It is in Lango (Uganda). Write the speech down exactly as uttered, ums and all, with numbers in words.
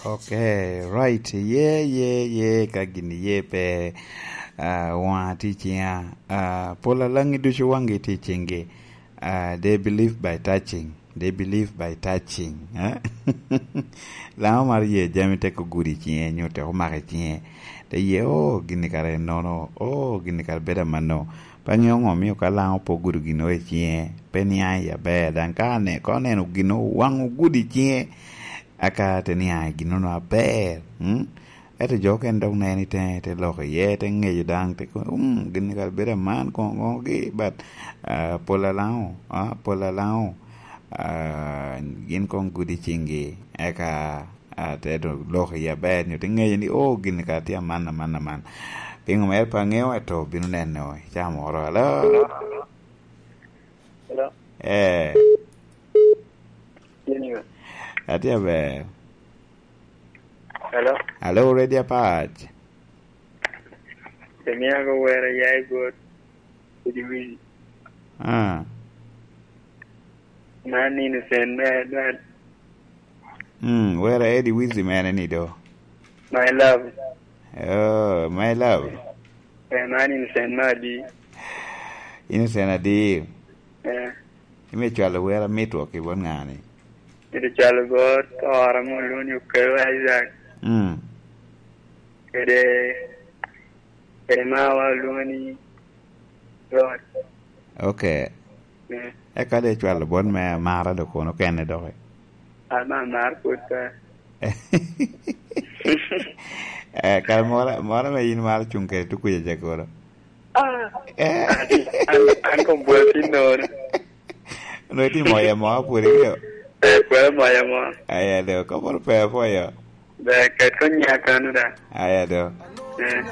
Okay, right. Ye, ye, ye, ka gin ye pe, ah, waŋa tye i ciŋa. Ah, pol alaŋi ducu waŋgi tye i ciŋgi. Ah, they believe by touching. They believe by touching. Eh? Laŋo mar ye jami tek ogudo i ciŋe, nyo tek omako i ciŋe. Te ye, "Oh, gin-ni kara en nono. Oh, gin-ni kara bedo amanno." Pe aŋeo ŋo omio ka Laŋo pe ogudo gin i ciŋe, pe niaŋ i aber. Daŋ ka ane-, ka oneno gin waŋ ogudo i ciŋe, aka te niaŋ i gin-nono aber. Mm? Ento jo okene dok neno i teŋe, te lok iye, te ŋeyo daŋ, te kono, "Um, gin-ni kara bedo aman koŋo koŋogi, but, ah, pol alaŋo, ah, pol alaŋo, ah, gin koŋ gudo i ciŋgi." Eka, ah, te do-, lok iye aber, nyo te ŋeyo ni, "Oh, gin-ni kara tye aman, aman, aman." Piŋo mere pe aŋeo, ento bino neno i caa moro. Alo? Hello? Eh. Atye aber. Hello? Alo, Ready Apac. Emiago wera ya i bot Eddie Wizzy. Ah. Man innocent me adwal. Mm, wera Eddie Wizzy mene ni do? My love. Oh, my love. Eh, man innocent me adi? Innocent adi? Eh. Ime cwalo wera mitwok i bot ŋa ni? Myero cwalo bot ora mo lwongo ni Okeyo Isaac. Mm. Kede, kede mawa lwongo ni Rod. Okay. Mm. Eka de cwalo bot me amara do kono kene doki. Ama amar pwod pe. Eh, kara moro, moro me in maro cuŋ kede tukuja ca kono. Ah. Eh. An, an, an kom bwolo tin nono. Onongo itye moyo amo pwod ikeo? Eh, pwod amoyo amo. Aya do, ka pwod pe apwoyo. Ber, ket kony ya kano da. Aya do. Eh.